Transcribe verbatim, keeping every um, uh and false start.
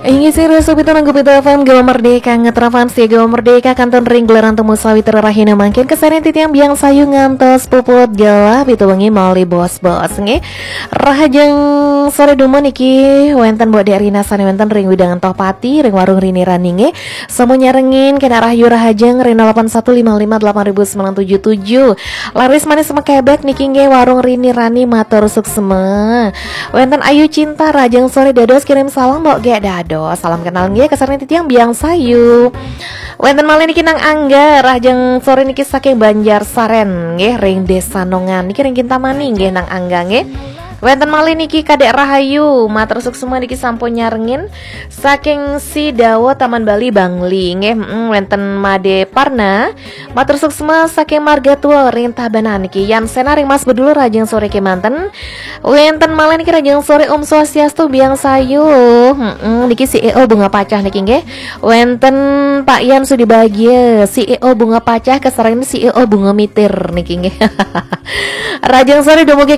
Inggih sira, sopito nanggu pito F M Gema Merdeka, ngetrafan setia Gema Merdeka, kantun ring gelaran temu sawitra rahina mangkin, kasareng titiang Biang Sayu ngantos puput gelah, pito wengi malih bos-bos, nggih. Rahajeng sore dumun niki wenten Mbok Dek Rina sane wenten ring wewidangan Tohpati, ring warung Rini Rani, nggih. Sampun nyarengin kena rahayu rahajeng ring nol delapan satu lima lima delapan ribu sembilan tujuh tujuh. Laris manis mekebek niki nggih warung Rini Rani, matur suksma. Wenten Ayu Cinta, rahajeng sore dados, kirim salam Mbok Gek dados. Salam kenal nggih, kasareng titiang Biang Sayu. Wenten malih niki Nang Angga, rahajeng sore niki saking Banjar Saren nggih, ring Desa Nongan. Niki ring Kintamani nggih Nang Angga nggih. Wenten malih niki Kadek Rahayu, matur suksma niki sampun nyarengin saking Sidawa Taman Bali Bangli nggih. Mm, wenten Made Parna, matur suksma saking Marga Tua ring Tabanan niki. Yan Sena ring Mas Bedul, rahajeng sore kemanten. Wenten malih niki rahajeng sore Om Swastiastu Biang Sayu. Mm, niki C E O Bunga Pacah niki nggih. Wenten Pak Yan Sudi Bagia, C E O Bunga Pacah, kasareng C E O Bunga Mitir niki nggih. Rahajeng sore dumugi